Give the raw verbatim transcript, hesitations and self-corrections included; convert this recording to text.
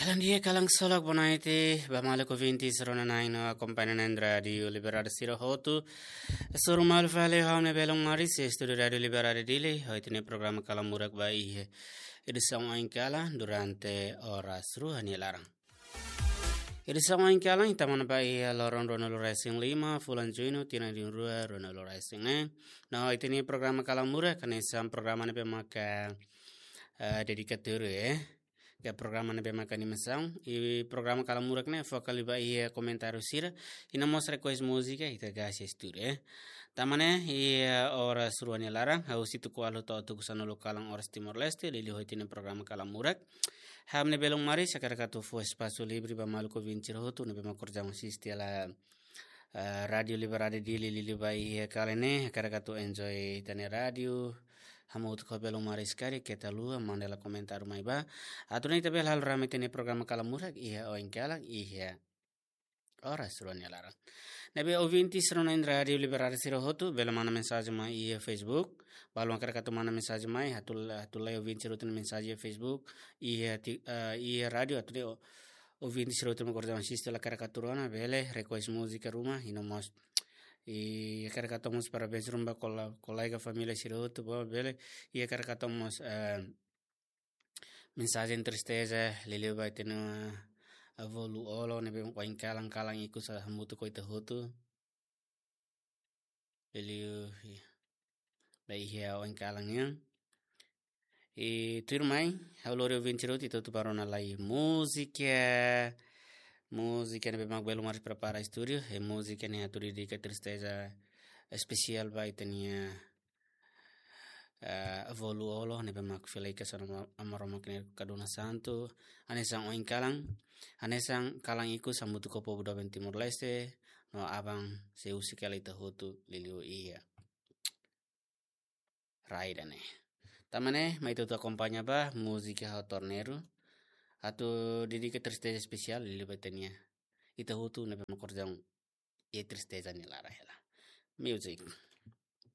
Bom dia, kalan solok, boa noite ba maluk ouvintes rona-na'in no akompaña na'in Rádiu Liberdade sira hotu. Hasoru malu fali ho ha'u-nia belun Maris, estúdiu Rádiu Liberdade Dili, ho ita-nia programa Kalan Murak ba iha edisaun oin kalan durante oras rua nia laran. Edisaun oin kalan ita manán ba iha loron ruanulu-resin-lima, fulan Juñu, tinan rihun rua ruanulu-resin-neen. No ita-nia programa Kalan Murak, hanesan programa ne'ebé maka, eh, dedika tuir, eh, ke programa ne'ebé maka animasaun. I programa Kalan Murak ne'e foka liu ba iha komentáriu sira, i no mós request múzika, ita gasi estúdiu, eh. Tan ne'e, iha oras rua nia laran, ha'u Situ Kualu to'o tuku sanulu kalan oras Timor-Leste, liuliu ho ita-nia programa Kalan Murak. Ha'u-nia belun Maris, hakarak atu fó espasu livre ba maluk ouvinte sira hotu ne'ebé mak kordang asiste hela, eh, Rádiu Liberdade Dili liuliu ba iha kalan ne'e, hakarak atu enjoy ita-nia rádiu. Hamutuk ho belun Maris karik keta haluha manda hela komentáriu mai ba. Atu nune'e ita bele halo rame ita-nia programa Kalan Murak iha oin kalan, iha oras rua nia laran. Ne'ebé ouvinte sira rona-na'in Rádiu Liberdade sira hotu, bele manda mensajen mai iha Facebook. Balu hakarak atu manda mensajen mai, atu, atu lee ouvinte sira hotu nia mensajen iha Facebook, iha ti-, eh, iha rádiu, atu nune'e o-, ouvinte sira hotu mak kordang asiste hela hakarak atu rona, bele request múzika ruma, i no mós, i hakarak atu mós parabéns ruma ba kola-, kolega família sira hotu, ba bele, i hakarak atu mós, eh, mensajen tristeza, liuliu ba ita-nia avó Lu Olo, ne'ebé oin kalan, kalan ikus hamutuk ho ita hotu. Liuliu, i, ba iha oin kalan nian. I tuirmai, ha'u lori ouvinte sira hotu, ita hotu bá rona lai múzika. Múzika ne'ebé mak belun Maris prepara estúdiu, i múzika ne'e atu dedika tristeza espesiál ba ita-nia, eh, avó Lu Olo, ne'ebé mak fila hikas ona Aman Maromak nia kaduna santu, hanesan oin kalan, hanesan kalan ikus hamutuk ho povu doben Timor-Leste, no aban sei husik hela ita hotu liuliu iha rai ida-ne'e. Tan ne'e, mai ita hotu akompaña ba múzika Ho Torneiru, atu dedika tristeza espesiál liuliu ba ita-nia, ita hotu ne'ebé mak kordang iha tristeza nia laran hela. Music.